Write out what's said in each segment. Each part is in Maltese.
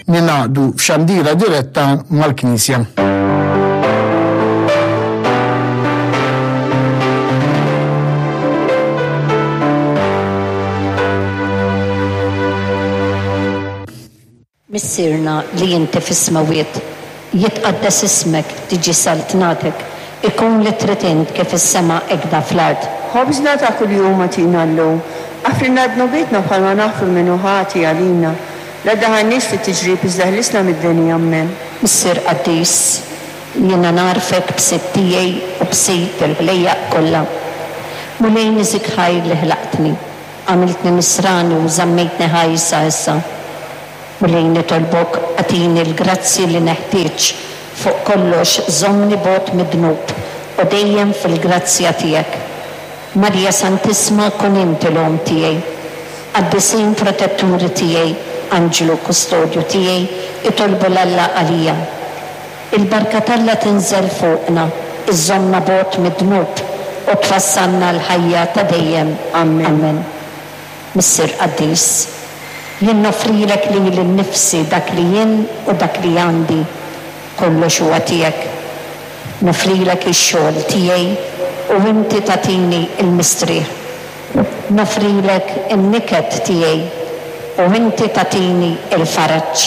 Ningħaqdu f'xandira diretta mal-Knisja. Missierna li inti fis-smewwiet, jitqaddes ismek, tiġi saltnatek, ikun li trid int kif fis-sema hekda fl-art. Ħobżna ta' kuljum agħtina llum. Aħfrilna dnubietna bħalma naħfru 'l min hu ħati għalina. La ddaħħalniex fit-tiġrib iżda ħlisna mid-deni. Ammen. Missier qaddis, jiena nagħrfek b'Sid tiegħi u b'Sid il-ħlejjaq kollha. Mulej niżik ħaj li ħlaqtni. Għamiltni nisrani u żammejtni ħaj sa issa. Mulej nitolbok agħtini l-grazzji li neħtieġ, fuq kollox żommni bogħod mid-dnub u dejjem fil-grazzja tiegħek. Marija Santissma kun inti l-Omm tiegħi. Qaddisin protetturi tiegħi, anġlu kustodju tiegħi, itolbu 'l Alla għalija. Il-barka t'Alla tinżel fuqna, iżżommna bogħod mid-dnub u twassalna għall-ħajja ta' dejjem. Amen. Missier qaddis, jien noffrilek lili nnifsi dak li jien u dak li għandi, kollox huwa tiegħek. Noffrilek ix-xogħol tiegħi u inti tagħtini l-mistrieħ. Noffrilek in-niket tiegħi u inti tagħtini l-faraġ.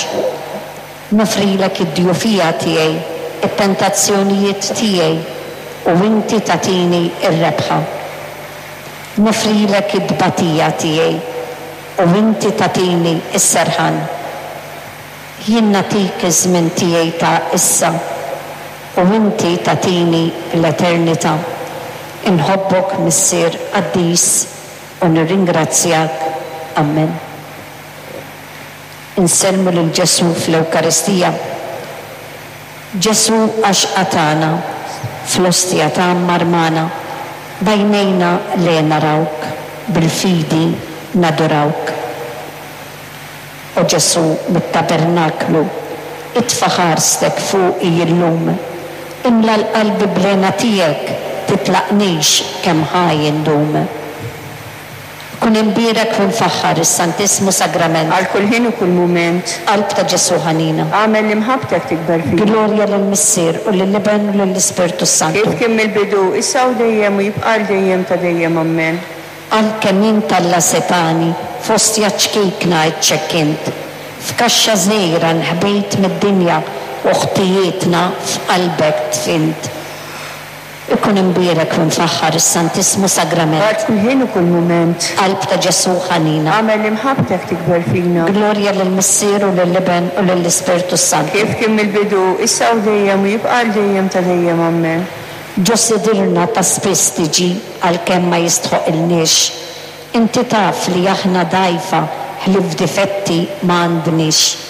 Noffrilek id-djufija tiegħi, it-tentazzjonijiet tiegħi, u inti tagħtini r-rebħa. Noffrilek it-tbatija tiegħi, u inti tagħtini s-serħan. Jien nagħtik iż-żmien tiegħi ta' issa, u inti tagħtini l-eternità. Inħobbok, Missier qaddis, u nirringrazzjak. Ammen. Insellmu lil Ġesù fl-Ewkaristija. Ġesù għaxqa tagħna, fl-ostja tgħammar magħna, b'għajnejna le narawk, bil-fidi nadurawk. O Ġesù mit-tabernaklu, itfa' ħarstek fuqi illum, imla 'l qalbi bl-hena tiegħek, titlaqnix kemm ħaj indum. Kun imbierek u mfaħħar is-Santissmu Sagrament. Għal kull ħin u kull mument. Qalb ta' Ġesù ħanina. Agħmel li mħabbtek tikber fina. Glorja lill-Missier u lill-Iben u lill-Ispirtu s-Santu. Kif kien mill-bidu, issa u dejjem u jibqa' għal dejjem ta' dejjem. Ammen. Għalkemm int Alla setgħani, f'ostja ċkejkna iċċekkint. F'kaxxa żgħira nħbejt mid-dinja u ħtijietna f'qalbek dfint. Ikun imbierek u mfaħħar is-Santissmu Sagrament. Għal kull ħin u kull mument. Qalb ta' Ġesù ħanina. Agħmel li mħabbtek tikber fina. Glorja lill-Missier u lill-Iben u lill-Ispirtu s-Santu. Kif kien mill-bidu, issa u dejjem u jibqa' għal dejjem ta' dejjem. Ammen. Ġo sidirna ta' spiss tiġi għalkemm ma jistħoqilniex. Inti taf li aħna dgħajfa ħlief difetti ma għandniex.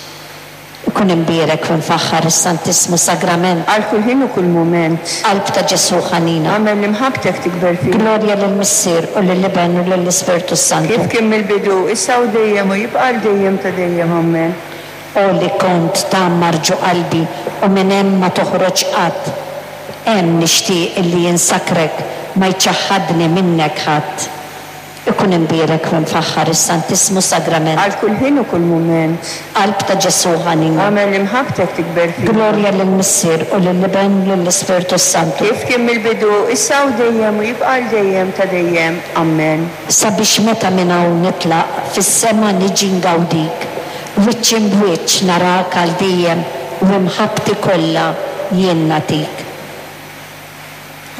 Ikun imbierek u mfaħħar is-Santissmu Sagrament. Għal kull ħin u kull mument. Qalb ta' Ġesù ħanina. Agħmel li mħabbtek tikber fina. Glorja lill-Missier u lill-Iben u lill-Ispirtu s-Santu. Kif kien mill-bidu, issa u dejjem u jibqa' għal dejjem ta' dejjem. Ammen. O li kont tgħammar ġo qalbi u minn hemm ma toħroġ qatt. Hemm nixtieq illi insakrek ma jċaħħadni minnek ħadd. Ikun imbierek u mfaħħar is-Santissmu Sagrament. Għal kull ħin u kull mument. Qalb ta' Ġesù ħanina. Agħmel li mħabbtek tikber fina. Glorja lill-Missier u lill-Iben u lill-Ispirtu s-Santu. Kif kien mill-bidu, issa u dejjem u jibqa' għal dejjem ta' dejjem. Ammen. Sabiex meta minn hawn nitlaq, fis-sema niġi ngawdik, wiċċ imb'wiċċ narak għal dejjem u imħabbti kollha jien nagħtik.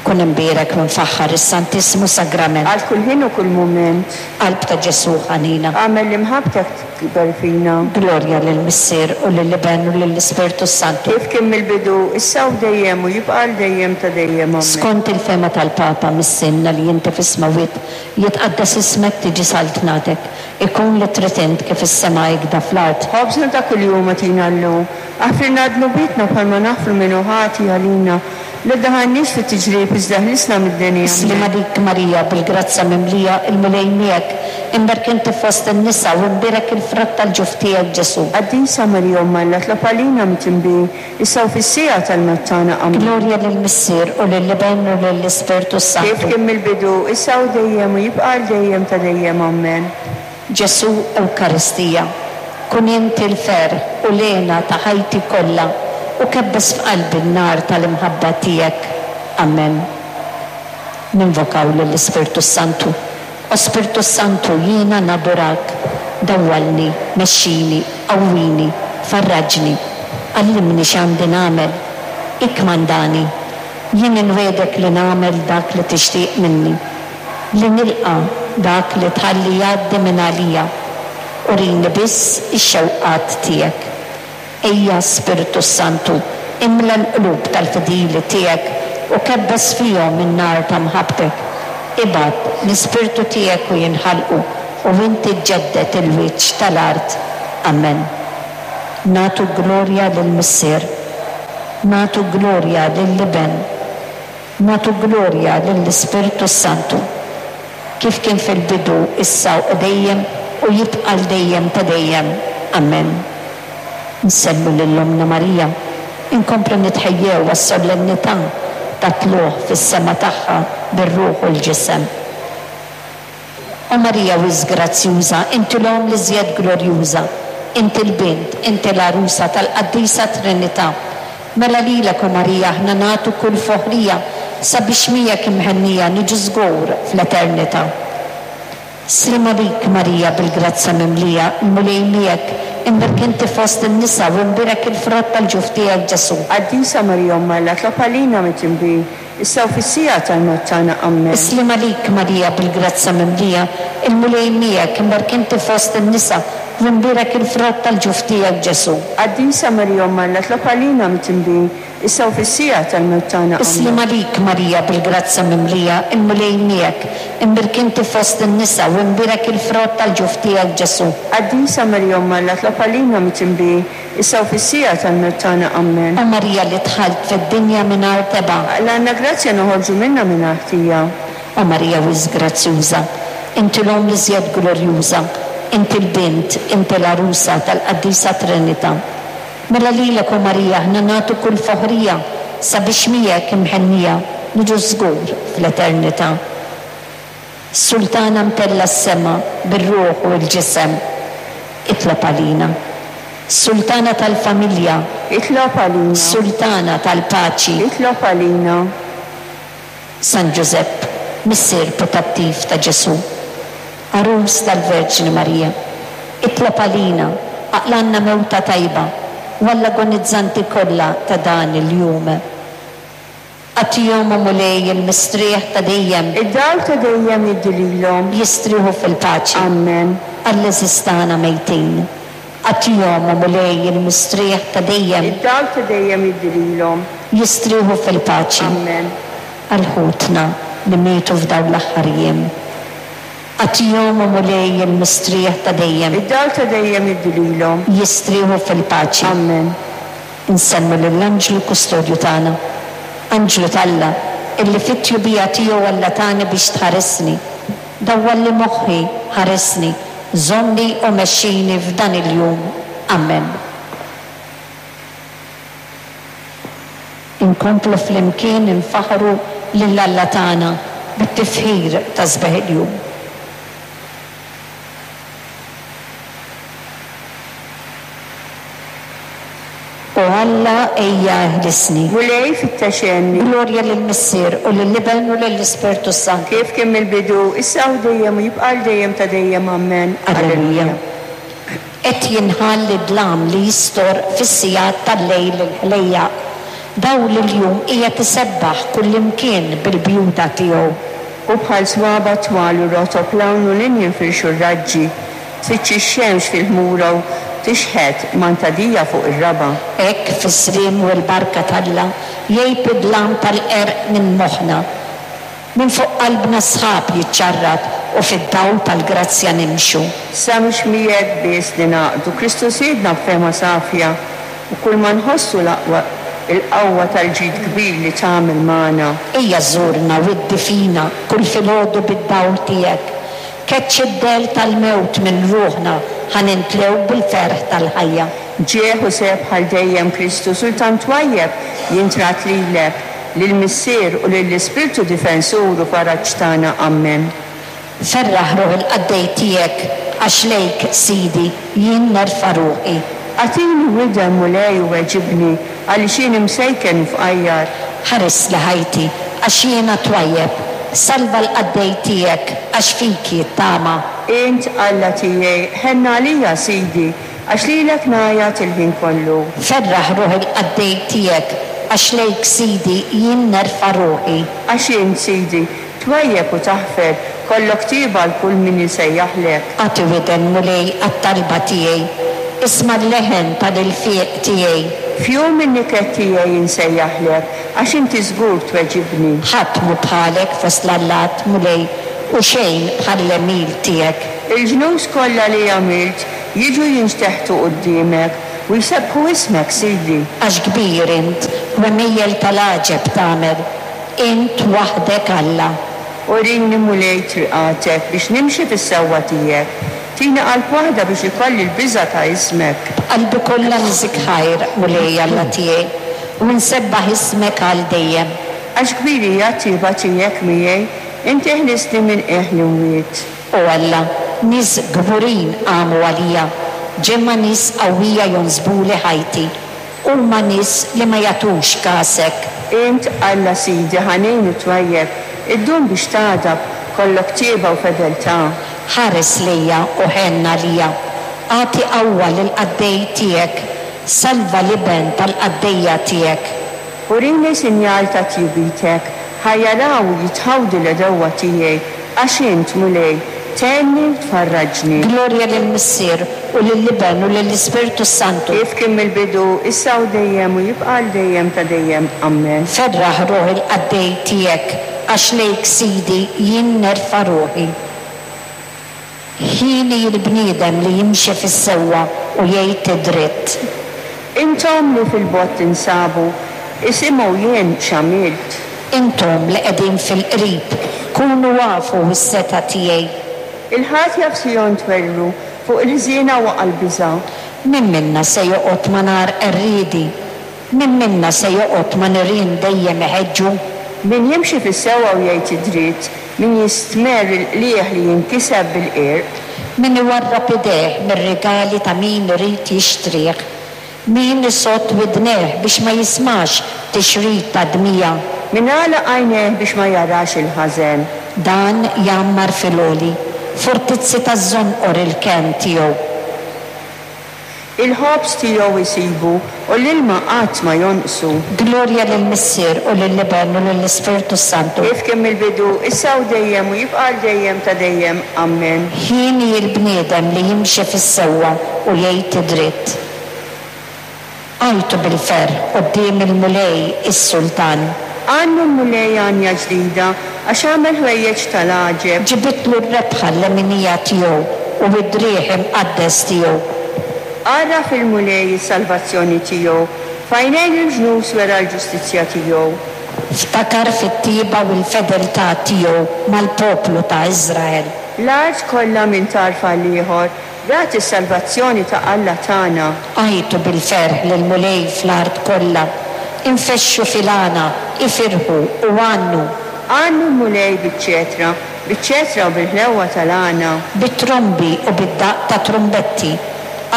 Kun imbierek u mfaħħar is-Santissmu Sagrament. Għal kull ħin u kull mument. Qalb ta' Ġesù ħanina. Agħmel li mħabbtek tikber fina. Glorja lill-Missier u lill-Iben u lill-Ispirtu s-Santu. Kif kien mill-bidu, issa u dejjem u jibqa' għal dejjem ta' dejjem. Ammen. Skont il-fehma tal-Papa, Missierna li inti fis-smewwiet, jitqaddes ismek, tiġi saltnatek, ikun li trid int kif fis-sema hekda fl-art. Ħobżna ta' kuljum agħtina llum. Aħfrilna dnubietna bħalma naħfru min hu ħati għalina. La ddaħħalniex fit-tiġrib iżda ħlisna mid-deni. Ammen. Sliem għalik Marija, bil-grazzja mimlija, il-Mulej miegħek, imberk inti fost in-nisa u imbierek il-frott tal-ġuf tiegħek Ġesù. Qaddisa Marija Omm Alla tlob għalina midinbin, issa u fis-siegħa tal-mewt tagħna. Ammen. Glorja lill-Missier u lill-Iben u lill-Ispirtu s-Santu. Kif kien mill-bidu, issa u dejjem u jibqa' għal dejjem ta' dejjem. Ammen. Ġesù Ewkaristija. Kun int il-ferħ u l-hena ta' ħajti kollha u kebbes f'qalbi n-nar tal-imħabba tiegħek. Amen. Ninvokaw lill-Ispirtu s-Santu. O Spirtu s-Santu, jiena nadurak. Dawwalni, mexxini, qawwini, farraġni. Għallimni x'għandi nagħmel. Ikkmandani. Jien inwiegħdek li nagħmel dak li tixtieq minni. Li nilqa' dak li tħalli jgħaddi minn għalija. Urini biss ix-xewqat tiegħek. Ejja, Spirtu s-Santu, imla l-qlub tal-fidili tiegħek u kebbes fihom in-nar ta' mħabbtek. Ibgħat l-Ispirtu tiegħek u jinħalqu, u inti ġġedded il-wiċċ tal-art. Amen. Nagħtu glorja lill-Missier. Nagħtu glorja lill-Iben. Nagħtu glorja lill-Ispirtu s-Santu. Kif kien fil-bidu, issa u dejjem, u jibqa' għal dejjem ta' dejjem. Amen. Insellmu lil Ommna Marija, inkomplu nitħejjew għas-sollennità tat-tlugħ fis-sema tagħha bir-ruħ u l-ġisem. O Marija wisq grazzjuża, inti l-Omm l-iżjed glorjuża, inti l-Bint, inti l-Għarusa tal-Qaddisa Trinità. Mela lilek, o Marija, aħna nagħtu kull foħrija sabiex miegħek imhennija niġu żgur fl-eternità. Sliem għalik, Marija bil-grazzja mimlija, il-Mulej miegħek, imbierk inti fost in-nisa u imbierek il-frott tal-ġuf tiegħek Ġesù. Qaddisa Marija Omm Alla, tlob għalina midinbin, issa u fis-siegħa tal-mewt tagħna. Ammen. Sliem għalik, Marija bil-grazzja mimlija, il-Mulej miegħek, imbierk inti fost in-nisa u imbierek il-frott tal-ġuf tiegħek Ġesù. Qaddisa Marija Omm Alla, tlob għalina midinbin, issa u fis-siegħa tal-mewt tagħna. Ammen. Sliem għalik, Marija bil-grazzja mimlija, il-Mulej miegħek, imbierk inti fost in-nisa u imbierek il-frott tal-ġuf tiegħek Ġesù. Qaddisa Marija Omm Alla, tlob għalina midinbin, issa u fis-siegħa tal-mewt tagħna. Ammen. O Marija li dħalt fid-dinja mingħajr tebgħa. Aqlgħalna grazzja noħorġu minnha mingħajr ħtija. O Marija wisq grazzjuża, inti l-Omm l-iżjed glorjuża, inti l-Bint, inti l-Għarusa tal-Qaddisa Trinità. Mela lilek, o Marija, aħna nagħtu kull foħrija sabiex miegħek imhennija niġu żgur fl-eternità. Sultana mtellgħa s-sema bir-ruħ u l-ġisem, itlob għalina. Sultana tal-familja. Itlob għalina. Sultana tal-paċi. Itlob għalina. San Ġużepp, missier putattiv ta' Ġesù, għarus tal-Verġni Marija, itlob għalina, aqlgħalna mewta tajba u għall-agonizzanti kollha ta' dan il-jum. Agħtihom, o Mulej, il-mistrieħ ta' dejjem. Id-dawl ta' dejjem jiddi lilhom. Jistrieħu fil-paċi. Ammen. Għall-għeżież tagħna mejtin. Agħtihom, o Mulej, il-mistrieħ ta' dejjem. Id-dawl ta' dejjem jiddi lilhom. Jistrieħu fil-paċi. Ammen. Għal ħutna li mietu f'dawn l-aħħar jiem. Agħtihom, o Mulej, il-mistrieħ ta' dejjem. Id-dawl ta' dejjem jiddi lilhom. Jistrieħu fil-paċi. Ammen. Insellmu lill-Anġlu Kustodju tagħna. Anġlu t'Alla, illi fit-tjubija tiegħu Alla tani biex tħaresni. Dawwalli moħħi, ħaresni, żommni u mexxini f'dan il-jum. Ammen. Inkomplu flimkien infaħħru lil Alla tagħna bit-tifħir ta' sbieħ il-jum. O Alla, ejja eħlisni. Mulej, fittex għenni. Glorja lill-Missier, u lill-Iben, u lill-Ispirtu s-Santu. Kif kien mill-bidu, issa u dejjem, u jibqa' għal dejjem ta' dejjem. Ammen. Alleluja. Qed jinħall id-dlam li jistor fis-sigħat tal-lejl il-ħlejjaq. Dawl il-jum qiegħed isebbaħ kullimkien bil-bjuda tiegħu. U bħal swaba' twal u rotob 'l hawn u 'l hinn jinfirxu r-raġġi. Tfittxi x-xemx fil-ħmura u tixħet mantadija fuq ir-raba'. Hekk fis-sliem u l-barka t'Alla jgħib id-dlam tal-qerq minn moħħna. Minn fuq qalbna s-sħab jiċċarrat u fid-dawl tal-grazzja nimxu. Sa mhux miegħek biss ningħaqdu, Kristu Sidna b'fehma safja u kulma nħossu l-aqwa il-qawwa tal-ġid kbir li tagħmel magħna. Ejja żurna u iddi fina kull filgħodu bid-dawl tiegħek. Keċċi d-dell tal-mewt minn ruħna ħa nintlew bil-ferħ tal-ħajja. Ġieħ u sebħ għal dejjem Kristu Sultan twajjeb jintgħad lilek, lill-Missier u lill-Ispirtu Difensur u Faraġ tagħna. Ammen. Ferraħ ruħ il-qaddej tiegħek. għax lejk, Sidi, jien nerfa' ruħi. Agħtini widen, Mulej, u weġibni, għaliex jien imsejken u fqajjar. Ħarisli ħajti, għax jiena twajjeb, salva l-qaddej tiegħek, għax fik jittama. Int Alla tiegħi, ħenn għalija, Sidi, għax lilek ngħajjat il-ħin kollu. Ferraħ ruħ il-qaddej tiegħek, għax lejk, Sidi, jien nerfa' ruħi. Għax int, Sidi, twajjeb u taħfer, kollok tjieba għal kull min isejjaħlek. Agħti widen, Mulej, għat-talba tiegħi, isma' l-leħen tal-ilfiq tiegħi. F'jum in-niket tiegħi insejjaħlek, għax inti żgur tweġibni. Ħadd mhu bħalek fost l-allat, Mulej, u xejn bħall-għemil tiegħek. Il-ġnus kollha li għamilt jiġu jinxteħtu quddiemek, u jsebbħu ismek, Sidi. Għax kbir int, u għemejjel tal-għaġeb tagħmel, int waħdek Alla. Urini, Mulej, triqatek, biex nimxi fis-sewwa tiegħek. Tini qalb waħda biex ikolli l-biża' ta' ismek. B'qalbi kollha niżik ħajr, Mulej Alla tiegħi, u nsebbaħ ismek għal dejjem. Għax kbir hija t-tjieba tiegħek miegħi, inti ħlistni minn qiegħ l-imwiet. O Alla, nies kburin qamu għalija, ġemgħa nies qawwija jonsbuli ħajti. Huma nies li ma jagħtux kasek. Int, Alla Sidi, ħanin u twajjeb, iddum biex tagħdab, kollok tjieba u fedeltà. Ħares lejja u ħenn għalija, agħti qawwa lill-qaddej tiegħek, salva l-iben tal-qaddejja tiegħek. Urini sinjal ta' tjubitek, ħa jaraw u jitħawdu l-għedewwa tiegħi, għax int, Mulej, tgħinni u tfarraġni. Glorja lill-Missier, u lill-Iben, u lill-Ispirtu s-Santu. Kif kien mill-bidu, issa u dejjem, u jibqa' għal dejjem ta' dejjem. Ammen. Ferraħ ruħ il-qaddej tiegħek, għax lejk, Sidi, jien nerfa' ruħi. Hieni l-bniedem li jimxi fis-sewwa u jgħid id-dritt. Intom li fil-bogħod tinsabu, isimgħu jien x'għamilt. Intom li qegħdin fil-qrib, kunu afu s-setgħa tiegħi. Il-ħatja f'Sijon twerwru, fuq il-ħżiena waqa' l-biża'. Min minna se joqgħod ma' nar qerriedi? Min minna se joqgħod ma' nirien dejjem iħeġġu? Min jimxi fis-sewwa u jgħid id-dritt, min jistmerr il-qligħ li jinkiseb bil-qirq. Min iwarrab idejh mir-rigali ta' min irid jixtrih, min isodd widnejh biex ma jismax tixrid ta' dmija. Min għalaq għajnejh biex ma jarax il-ħażen. Dan jgħammar fil-għoli, fortizzi taż-żonqor il-kenn tiegħu. Il-ħobż tiegħu jsibu, u l-ilma qatt ma jonqsu. Glorja lill-Missier, u lill-Iben, u lill-Ispirtu s-Santu. Kif kien mill-bidu, issa u dejjem, u jibqa' għal dejjem ta' dejjem. Ammen. Hieni l-bniedem li jimxi fis-sewwa u jgħid id-dritt. Għajtu bil-ferħ quddiem il-Mulej is-Sultan. Għannu l-Mulej għanja ġdida, għax għamel ħwejjeġ tal-għaġeb. Ġibidtlu r-rebħa l-leminija tiegħu u d-driegħ imqaddes tiegħu. Għarraf il-Mulej is-salvazzjoni tiegħu, f'għajnejn il-ġnus wera l-ġustizzja tiegħu. Ftakar fit-tjieba u l-fedeltà tiegħu mal-poplu ta' Iżrael. L-art kollha minn tarf għall-ieħor Rat is-salvazzjoni ta' Alla tagħna. Għajtu bil-ferħ lill-Mulej fl-art kollha, infexxu fil-għana, ifirħu u għannu. Għannu l-Mulej biċ-ċetra, biċ-ċetra u bil-ħlewwa tal-għana. Bit-trombi u bid-daqq ta' trumbetti,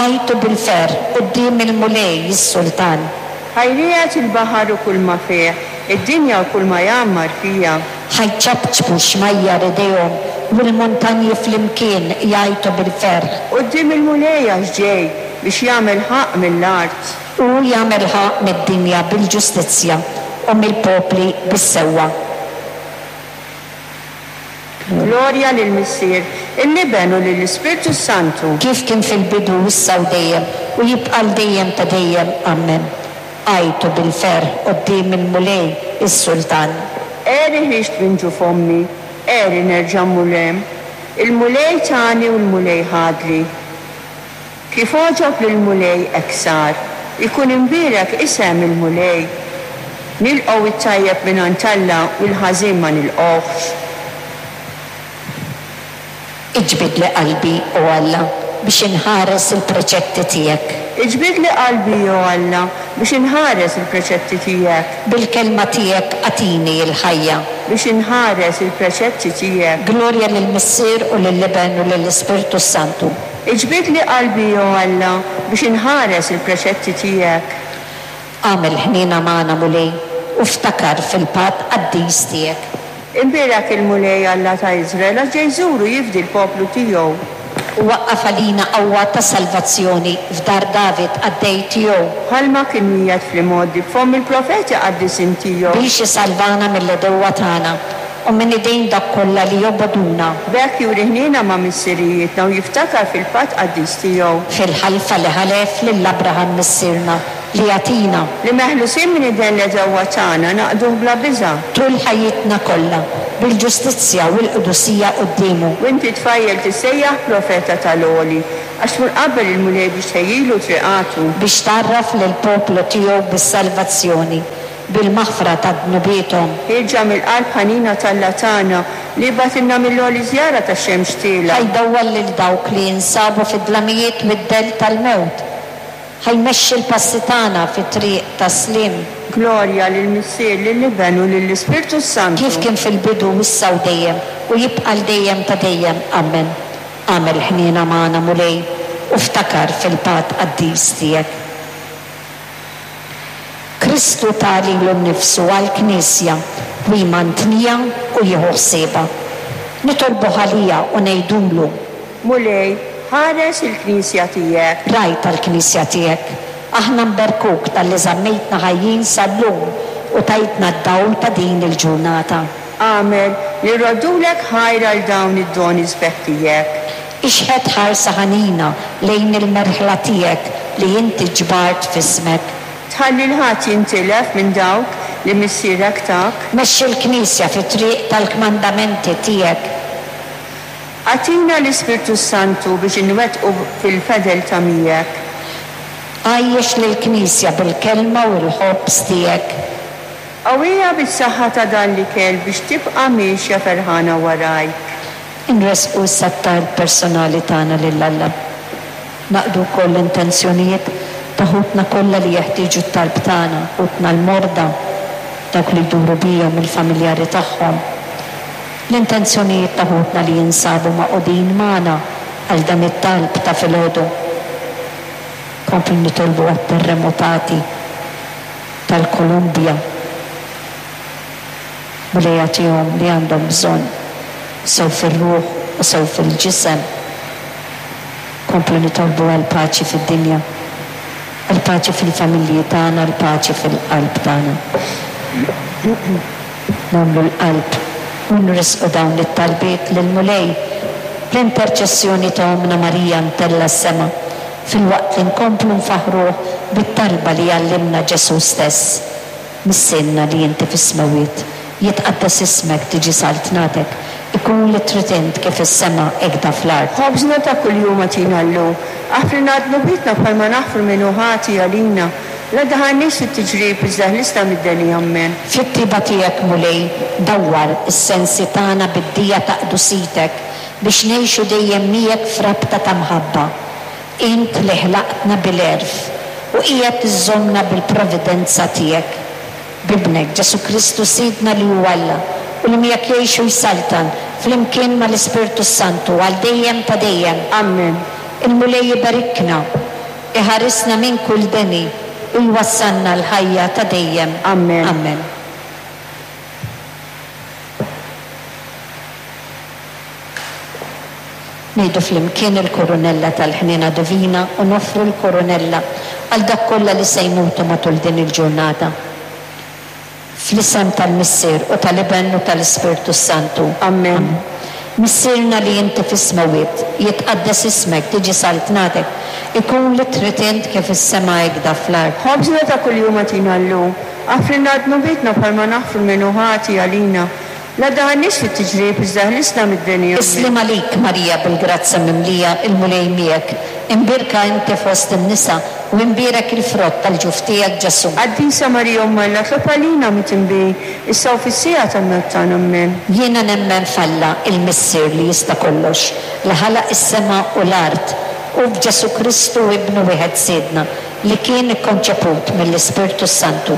għajtu bil-ferħ quddiem il-Mulej is-Sultan. Ħa jriegħed il-baħar u kulma fih, id-dinja u kulma jgħammar fiha. Ħa jċapċpu x-xmajjar idejhom u l-muntanji flimkien jgħajtu bil-ferħ. Quddiem il-Mulej għax ġej biex jagħmel ħaqq mill-art. Hu jagħmel ħaqq mid-dinja bil-ġustizzja u mill-popli bis-sewwa. Glorja lill-Missier, lill-Iben u lill-Ispirtu s-Santu. Kif kien fil-bidu, issa u dejjem, u jibqa' għal dejjem ta' dejjem. Ammen. Għajtu bil-ferħ quddiem il-Mulej is-Sultan. Għeri ħriġt minn ġuf ommi, għeri nerġa' mmur hemm. Il-Mulej tani u l-Mulej ħadli. Kif għoġob lill-Mulej hekk sar. Ikun imbierek isem il-Mulej. Nilqgħu t-tajjeb mingħand Alla u l-ħażin ma nilqgħuhx. Iġbidli qalbi, O Alla, biex inħares il-preċetti tiegħek. Iġbidli qalbi, O Alla, Biex inħares il-preċetti tiegħek. Bil-kelma tiegħek agħtini l-ħajja. Biex inħares il-preċetti tiegħek. Glorja lill-Missier u lill-Iben u lill-Ispirtu s-Santu. Iġbidli qalbi, o Alla, biex inħares il-preċetti tiegħek. Agħmel ħniena magħna, Mulej, u ftakar fil-patt qaddis tiegħek. Imbierek il-Mulej Alla ta' Iżrael, għax ġej jżur u jifdi l-poplu tiegħu. U waqqaf għalina qawwa ta' salvazzjoni f'dar David qaddej tiegħu. Bħalma kien wiegħed fl-imgħoddi b'fomm il-profeti qaddisin tiegħu. Biex isalvana mill-għedewwa tagħna u minn idejn dawk kollha li jobogħduna. B'hekk juri ħniena ma' missirijietna u jiftakar fil-patt qaddis tiegħu. Fil-ħalfa li ħalef lil Abraham missierna. Li jagħtina. Li meħlusin minn idejn l-għedewwa tagħna naqduh bla biża'. Tul ħajjitna kollha, bil-ġustizzja u l-qdusija quddiemu. U inti tfajjel tissejjaħ profeta tal-Għoli, għax tmur qabel il-Mulej biex tħejjilu triqatu. Biex tgħarraf lill-poplu tiegħu bis-salvazzjoni, bil-maħfra ta' dnubiethom. Ħierġa mill-qalb ħanina t'Alla tagħna, li bagħtilna mill-għoli żjara tax-xemx tielgħa. Ħa jdawwal lil dawk li jinsabu fid-dlamijiet mid-dell tal-mewt. Ħa jmexxi l-passi tagħna fit-triq tas-sliem. Glorja lill-Missier, lill-Iben u lill-Ispirtu s-Santu. Kif kien fil-bidu, issa u dejjem, u jibqa' għal dejjem ta' dejjem. Amen. Agħmel ħniena magħna, Mulej, u ftakar fil-patt qaddis tiegħek. Kristu ta lilu nnifsu għall-Knisja u jmantniha u jieħu ħsiebha. Nitolbuh għaliha u ngħidulu. Mulej, ħares il-Knisja tiegħek. Ragħaj tal-Knisja tiegħek, aħna nberkuk talli żammejtna ħajjin sal-lum u tajtna d-dawl ta' din il-ġurnata. Agħmel li rroddulek ħajr għal dawn id-doni sbieħ tiegħek. Ixħet ħarsa ħanina lejn il merħla tiegħek li inti ġbart f'ismek. Tħalli 'l ħadd jintilef minn dawk li Missierek tak. Mexxi l-Knisja fit-triq tal-kmandamenti tiegħek. Agħtina l-Ispirtu s-Santu biex inwettqu fil-fedeltà miegħek. Għajjex lill-Knisja bil-Kelma u l-ħobż tiegħek. Qawwiha bis-saħħa ta' dan l-ikel biex tibqa' miexja ferħana warajk. Inressqu issa t-talb personali tagħna lil Alla. Naqdu wkoll l-intenzjonijiet ta' ħutna kollha li jeħtieġu t-talb tagħna, ħutna l-morda, dawk li jduru bihom, il-familjari tagħhom. L-intenzjonijiet ta' ħutna li jinsabu magħqudin magħna għal dan it-talb ta' filgħodu. Nkomplu nitolbu għat-terremotati tal-Kolumbja. Mulej agħtihom li għandhom bżonn, sew fir-ruħ u sew fil-ġisem. Nkomplu nitolbu għall-paċi fid-dinja, għall-paċi fil-familji tagħna, għall-paċi fil-qalb tagħna. Nagħmlu l-qalb u nressqu dawn it-talbiet lill-Mulej bl-interċessjoni ta' Ommna Marija mtellgħa s-sema, filwaqt li nkomplu nfaħħruh bit-talba li għallimna Ġesù stess, Missierna li inti fis-smewwiet, jitqaddes ismek, tiġi saltnatek, ikun li trid int kif fis-sema hekda fl-art. Ħobżna ta' kuljum agħtina llum. Aħfrilna dnubietna bħalma naħfru min hu ħati għalina. La daħalniex fit-tiġrib iżda ħlisna mid-deni. Ammen. Fit-tjieba tiegħek, Mulej, dawwar is-sensi tagħna bid-dija ta' qdusitek biex ngħixu dejjem miegħek f'rabta ta' mħabba. Int li ħlaqtna bil-għerf u qiegħed iżżommna bil-providenza tiegħek. B'Ibnek, Ġesù Kristu Sidna li hu Alla u li miegħek jgħix u jsaltan flimkien mal-Ispirtu s-Santu għal dejjem ta' dejjem. Ammen. Il-Mulej iberikna. Iħarisna minn kull deni u jwassalna l-ħajja ta' dejjem. Ammen. Ammen. Ngħidu flimkien il-Kurunella tal-Ħniena Divina u noffru l-Kurunella għal dawk kollha li se jmutu matul din il-ġurnata. Fl-isem tal-Missier u tal-Iben u tal-Ispirtu s-Santu. Ammen. Missierna li inti fis-smewwiet, jitqaddes ismek, tiġi saltnatek, ikun li trid int kif fis-sema hekda fl-art. Ħobżna ta' kuljum agħtina llum. Aħfrilna dnubietna bħalma naħfru 'l min hu ħati għalina. La ddaħħalniex fit-tiġrib iżda ħlisna mid-deni. Ammen. Is-sliem għalik, Marija bil-grazzja mimlija, il-Mulej miegħek. Imbierka inti fost in-nisa, u imbierek il-frott tal-ġuf tiegħek, Ġesù. Qaddisa Marija Omm Alla, tlob għalina midinbin, issa u fis-siegħa tal-mewt tagħna. Ammen. Jiena nemmen f'Alla, il-Missier li jista' kollox, li ħalaq is-sema u l-art, u f'Ġesù Kristu Ibnu wieħed Sidna, li kien ikkonċeput mill-Ispirtu s-Santu,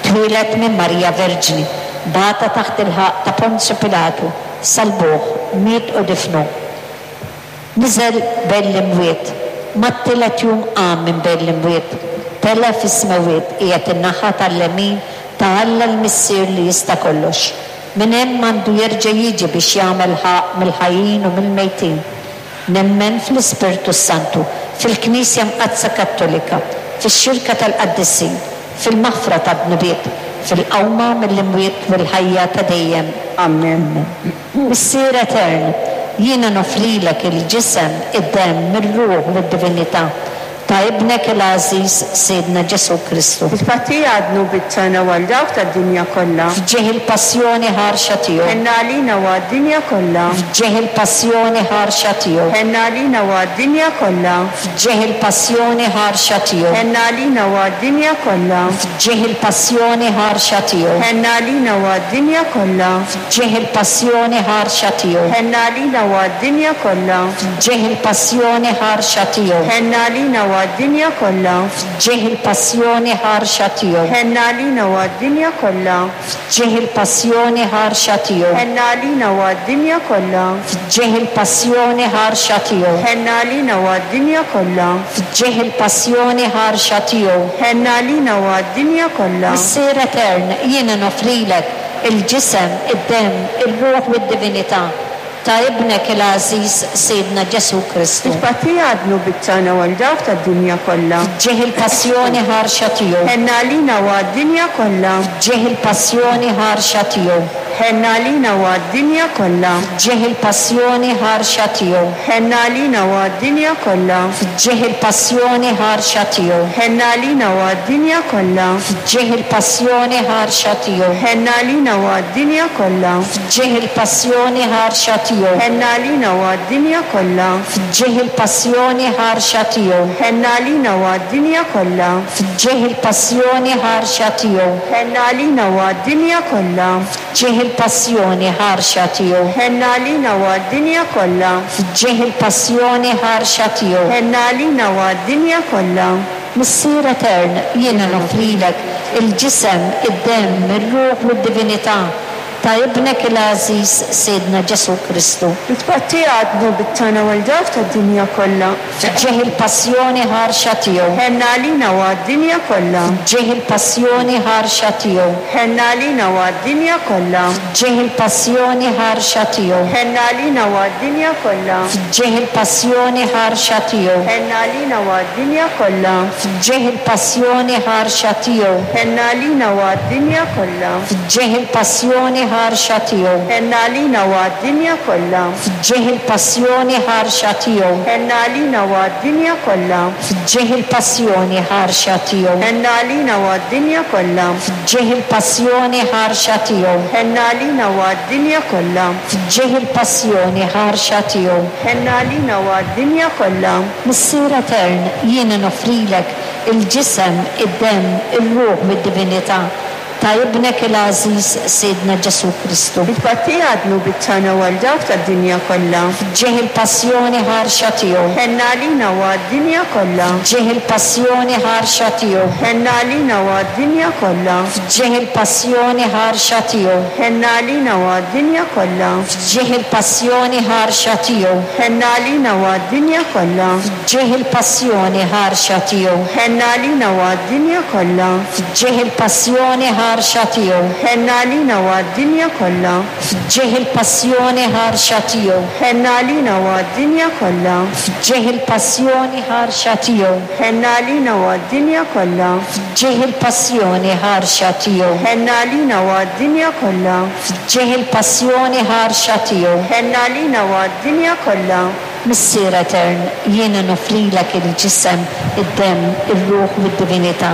twieled minn Marija Verġni, bata taħt il-ħaqq ta' Ponzju Pilatu, salbuh, miet u difnuh. Niżel bejn l-imwiet, mat-tielet jum qam minn bejn l-imwiet, tela' fis-smewwiet, qiegħed in-naħa tal-lemin ta' Alla l-Missier li jista' kollox. Minn hemm għandu jerġa' jiġi biex jagħmel ħaqq mill-ħajjin u mill-mejtin. Nemmen fl-Ispirtu s-Santu, fil-Knisja Mqaddsa Kattolika, fix-xirka tal-qaddisin, fil-maħfra tad-dnubiet, fil-qawma mill-imwiet u l-ħajja ta' dejjem. Amen. Missier Etern, jiena noffrilek il-ġisem, id-demm, ir-ruħ u d-divinità ta' Ibnek il-għażiż Sidna Ġesù Kristu. It-tpattija għad-dnubiet tagħna u għal dawk tad-dinja kollha. F'ġieħ il-passjoni ħarxa tiegħu. Ħenna għalina u għad-dinja kollha. F'ġieħ il-passjoni ħarxa tiegħu. Ħenna għalina u għad-dinja kollha. F'ġieħ il-passjoni ħarxa tiegħu. Ħenna għalina u għad-dinja kollha. F'ġieħ il-passjoni ħarxa tiegħu. Ħenna għalina u għad-dinja kollha. F'ġieħ il-passjoni ħarxa tiegħu. Ħenna għalina u għad-dinja kollha. F'ġieħ il-passjoni ħarxa tiegħu. Ħenna għalina u għad-dinja kollha. F'ġieħ il-passjoni ħarxa tiegħu. Ħenna għalina u għad-dinja kollha. F'ġieħ il-passjoni ħarxa tiegħu. Ħenna għalina u għad-dinja kollha. F'ġieħ il-passjoni ħarxa tiegħu. Ħenna għalina u għad-dinja kollha. F'ġieħ il-passjoni ħarxa tiegħu. Ħenna għalina u għad-dinja kollha. Missier Etern, jiena noffrilek il-ġisem, id-demm, ir-ruħ u d-divinità ta' Ibnek il-għażiż Sidna Ġesù Kristu. It-tpattija għad-dnubiet tagħna u għal dawk tad-dinja kollha. F'ġieħ il-passjoni ħarxa tiegħu. Ħenna għalina u għad-dinja kollha. F'ġieħ il-passjoni ħarxa tiegħu. Ħenna għalina u għad-dinja kollha. F'ġieħ il-passjoni ħarxa tiegħu. Ħenna għalina u għad-dinja kollha. F'ġieħ il-passjoni ħarxa tiegħu. Ħenna għalina u għad-dinja kollha. F'ġieħ il-passjoni ħarxa tiegħu. Ħenna għalina u għad-dinja kollha. F'ġieħ il-passjoni ħarxa tiegħu. Ħenna għalina u għad-dinja kollha. F'ġieħ il-passjoni ħarxa tiegħu. Ħenna għalina u għad-dinja kollha. F'ġieħ il-passjoni ħarxa tiegħu. Ħenna għalina u għad-dinja kollha. F'ġieħ il-passjoni ħarxa tiegħu. Ħenna għalina u għad-dinja kollha. F'ġieħ il-passjoni ħarxa tiegħu. Ħenna għalina u għad-dinja kollha. Missier Etern, jiena noffrilek il-ġisem, id-demm, ir-ruħ u d-divinità ta' Ibnek il-għażiż Sidna Ġesù Kristu. It-tpattija għad-dnubiet tagħna u għal dawk tad-dinja kollha. F'ġieħ il-passjoni ħarxa tiegħu. Ħenna għalina u għad-dinja kollha. F'ġieħ il-passjoni ħarxa tiegħu. Ħenna għalina u għad-dinja kollha. F'ġieħ il-passjoni ħarxa tiegħu. Ħenna għalina u għad-dinja kollha. F'ġieħ il-passjoni ħarxa tiegħu. Ħenna għalina u għad-dinja kollha. F'ġieħ il-passjoni ħarxa tiegħu. Ħenna għalina u għad-dinja kollha. F'ġieħ il-passjoni ħarxa tiegħu. Ħenna għalina u għad-dinja kollha. F'ġieħ il-passjoni ħarxa tiegħu. Ħenna għalina u għad-dinja kollha. F'ġieħ il-passjoni ħarxa tiegħu. Ħenna għalina u għad-dinja kollha. F'ġieħ il-passjoni ħarxa tiegħu. Ħenna għalina u għad-dinja kollha. F'ġieħ il-passjoni ħarxa tiegħu. Ħenna għalina u għad-dinja kollha. Missier Etern, jiena noffrilek il-ġisem, id-demm, ir-ruħ u d-divinità ta' Ibnek il-għażiż Sidna Ġesù Kristu. It-tpattija għad-dnubiet tagħna u għal dawk tad-dinja kollha. F'ġieħ il-passjoni ħarxa tiegħu. Ħenna għalina u għad-dinja kollha. F'ġieħ il-passjoni ħarxa tiegħu. Ħenna għalina u għad-dinja kollha. F'ġieħ il-passjoni ħarxa tiegħu. Ħenna għalina u għad-dinja kollha. F'ġieħ il-passjoni ħarxa tiegħu. Ħenna għalina u għad-dinja kollha. F'ġieħ il-passjoni ħarxa tiegħu. Ħenna għalina u għad-dinja kollha. F'ġieħ il-passjoni ħarxa tiegħu. Ħenna għalina u għad-dinja kollha. F'ġieħ il-passjoni ħarxa tiegħu. Ħenna għalina u għad-dinja kollha. F'ġieħ il-passjoni ħarxa tiegħu. Ħenna għalina u għad-dinja kollha. F'ġieħ il-passjoni ħarxa tiegħu. Ħenna għalina u għad-dinja kollha. F'ġieħ il-passjoni ħarxa tiegħu. Ħenna għalina u għad-dinja kollha. Missier Etern, jiena noffrilek il-ġisem, id-demm, ir-ruħ u d-divinità.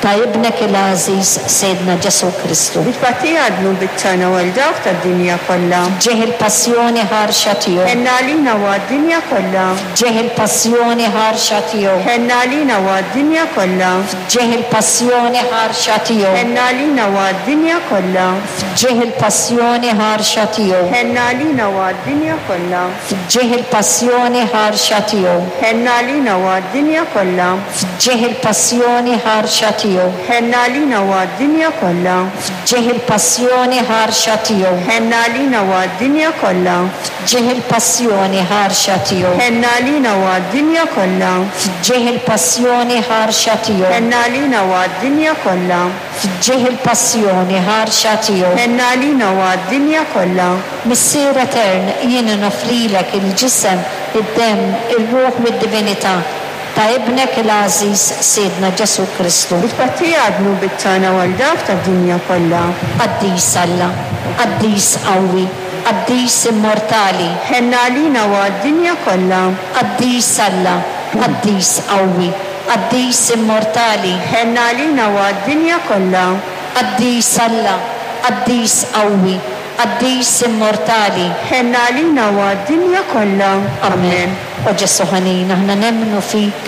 Ta' Ibnek il-għażiż Sidna Ġesù Kristu. Bi tpattija għad-dnubiet tagħna u għal dawk tad-dinja kollha. F'ġieħ il-passjoni ħarxa tiegħu. Ħenn għalina u għad-dinja kollha. F'ġieħ il-passjoni ħarxa tiegħu. Ħenn għalina u għad-dinja kollha. F'ġieħ il-passjoni ħarxa tiegħu. Ħenn għalina u għad-dinja kollha. F'ġieħ il-passjoni ħarxa tiegħu. Ħenn għalina u għad-dinja kollha. F'ġieħ il-passjoni ħarxa tiegħu. Ħenn għalina u għad-dinja kollha. F'ġieħ il-passjoni ħarxa tiegħu. Ħenn għalina u għad-dinja kollha. F'ġieħ il-passjoni ħarxa tiegħu. Ħenn għalina u għad-dinja kollha. F'ġieħ il-passjoni ħarxa tiegħu. Ħenn għalina u għad-dinja kollha. F'ġieħ il-passjoni ħarxa tiegħu. Ħenn għalina u għad-dinja kollha. F'ġieħ il-passjoni ħarxa tiegħu. Ħenn għalina u għad-dinja kollha. Missier Etern, jien noffrilek il-ġisem, id-demm, ir-ruħ u d-divinità ta' Ibnek il-għażiż Sidna Ġesù Kristu. Bi tpattija għad-dnubiet tagħna u għal dawk tad-dinja kollha. Qaddis Alla, Qaddis qawwi, Qaddis immortali. Ħenn għalina u għad-dinja kollha. Qaddis Alla, Qaddis qawwi, Qaddis immortali. Ħenn għalina u għad-dinja kollha. Qaddis Alla, Qaddis qawwi, Qaddis immortali. Ħenn għalina u għad-dinja kollha. Amen. O Ġesù ħanin, aħna nemmnu fik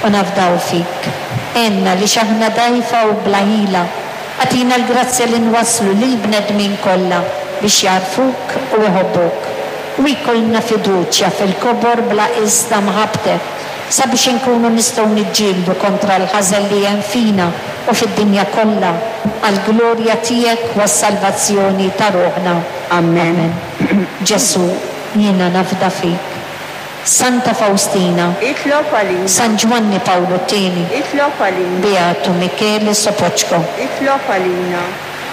u nafdaw fik. Għinna għaliex aħna dgħajfa u bla ħila. Agħtina l-grazzja li nwasslu lill-bnedmin kollha biex jagħrfuk u jħobbuk. U jkollna fiduċja fil-kobor bla qies ta' mħabbtek, sabiex inkunu nistgħu niġġieldu kontra l-ħażen li hemm fina u fid-dinja kollha, għall-glorja tiegħek u għas-salvazzjoni ta' ruħna. Amen. Ġesù, jiena nafda fik. Santa Fawstina. Itlob għalina. San Ġwanni Pawlu t-Tieni. Itlob għalina. Beatu Michele Sopoċko. Itlob għalina.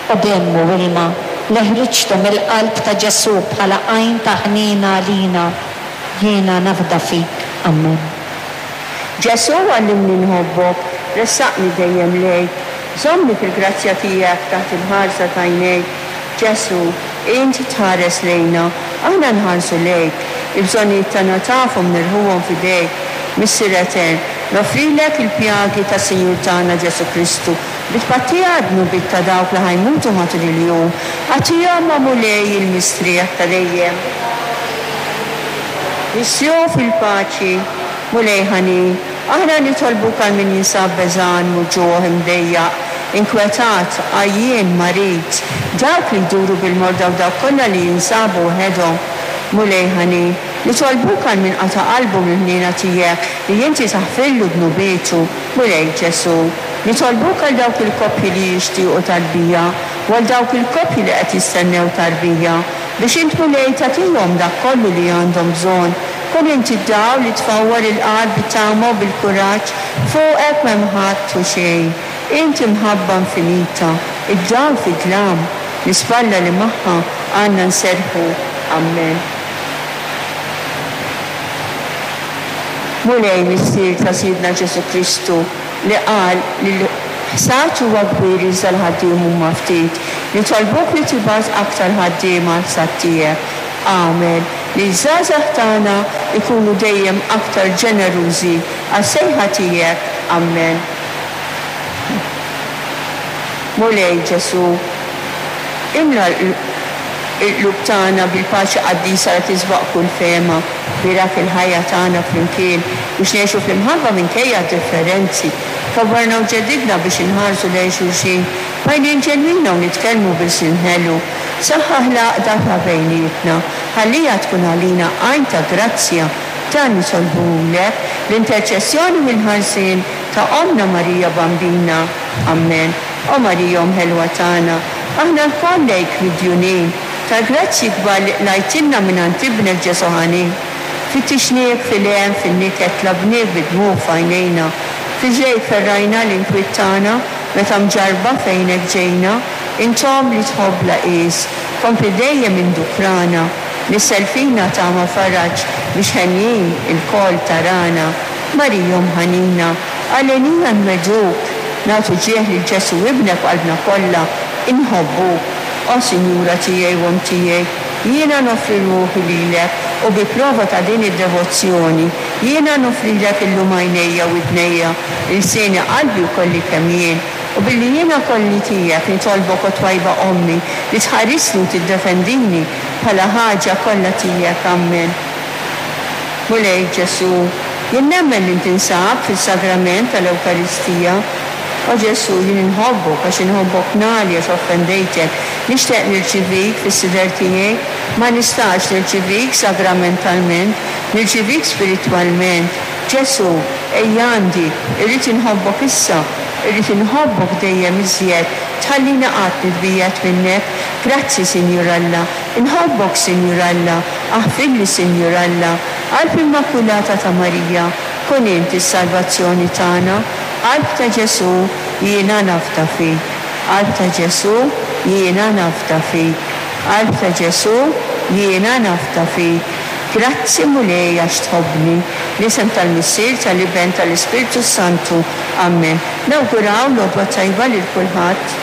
O demm u ilma, li ħriġtu mill-qalb ta' Ġesù bħala għajn ta' ħniena għalina, jiena nafda fik. Amen. Ġesù għallimni nħobbok, ressaqni dejjem lejk, żommni fil-grazzja tiegħek taħt il-ħarsa t'għajnejk. Ġesù, int tħares lejna, aħna nħarsu lejk. Il-bżonnijiet tagħna tafhom nerħuhom f'idejk. Missier Etern, noffrilek il-pjagi tas-Sinjur tagħna Ġesù Kristu, bi tpattija għad-dnubiet ta' dawk li ħa jmutu matul il-jum. Agħtihom, o Mulej, il-mistrieħ ta' dejjem. Mistrieħu fil-paċi, Mulej ħanin, aħna nitolbuk għal min jinsab beżgħan, muġugħ, imdejjaq, inkwetat, għajjien, marid, dawk li jduru bil-morda u dawk kollha li jinsabu waħedhom. Mulej ħanin, nitolbuk għal min qata' qalbu mill-ħniena tiegħek li inti taħfirlu dnubietu. Mulej Ġesù, nitolbuk għal dawk il-koppji li jixtiequ tarbija u għal dawk il-koppji li qed jistennew tarbija, biex int Mulej tagħtihom dak kollu li għandhom bżonn. Kun int id-dawl li tfawwar il-qalb bit-tama u bil-kuraġġ, fuqek m'hemm ħadd u xejn. Int imħabba infinita, id-dawl fid-dlam, l-ispalla li magħha għandna nserrħu. Ammen. Mulej Missier ta' Sidna Ġesù Kristu, li qal li l-ħsad huwa kbir iżda l-ħaddiem huma ftit, nitolbuk li tibgħat aktar ħaddiema għall-ħsad tiegħek. Agħmel li ż-żgħażagħ tagħna jkunu dejjem aktar ġenerużi għas-sejħa tiegħek. Ammen. Mulej Ġesù, imla l-qlub tagħna bil-paċi qaddisa li tisbaq kull fehma. Bierak il-ħajja tagħna flimkien biex ngħixu fl-imħabba minkejja d-differenzi. Kabbarna u ġeddidna biex inħarsu lejn xulxin b'għajnejn ġenwina u nitkellmu b'ilsien ħelu. Saħħaħ l-għaqda ta' bejnietna. Ħalliha tkun għalina għajn ta' grazzja. Dan nitolbuhulek bl-interċessjoni u l-ħarsien ta' Ommna Marija Bambina. Ammen. O Marija Omm ħelwa tagħna, aħna lkoll lejk midjunin tal-grazzji kbar li qlajtilna mingħand Ibnek Ġesù ħanin. Fittixniek fil-hemm, fin-niket, tlabniek bid-dmugħ f'għajnejna. F'riġlejk ferrajna l-inkwiet tagħna meta mġarrba fejnek ġejna. Int Omm li tħobb bla qies, kompli dejjem indukrana. Nissel fina tama faraġ biex henjin ilkoll tarana. Marija Omm ħanina, għalenija nwegħduk, nagħtu ġieħ lil Ġesù Ibnek b'qalbna kollha, inħobbuk. O Sinjura tiegħi u Omm tiegħi, jiena noffri ruħi lilek u bi prova ta' din id-devozzjoni, jiena noffrilek illum għajnejja, widnejja, ilsieni, qalbi u kolli kemm jien. U billi jiena kolli tiegħek, nitolbok o twajba Ommi, li tħarisni u tiddefendini bħala ħaġa kollha tiegħek. Ammen. Mulej Ġesù, jien nemmen li tinsab fis-Sagrament tal-Ewkaristija. O Ġesù, jien inħobbok għax inħobbok nagħli għax offendejtek. Nixtieq nirċivik fis-sider tiegħi. Ma nistax nirċivik sagramentalment, nirċivik spiritwalment. Ġesù, ejja għandi, irrid inħobbok issa, irrid inħobbok dejjem iżjed, tħallini qatt nitbiegħed minnek. Grazzi, Sinjur Alla. Inħobbok, Sinjur Alla. Aħfirli, Sinjur Alla. Qalb Immakulata ta' Marija, kun int is-salvazzjoni tagħna. Qalb ta' Ġesù, jiena nafda fik. Qalb ta' Ġesù, jiena nafda fik. Qalb ta' Ġesù, jiena nafda fik. Grazzi Mulej għax tħobbni. Fl-isem tal-Missier, tal-Iben, tal-Ispirtu s-Santu. Ammen. Nawguraw l-għodwa t-tajba lil kulħadd.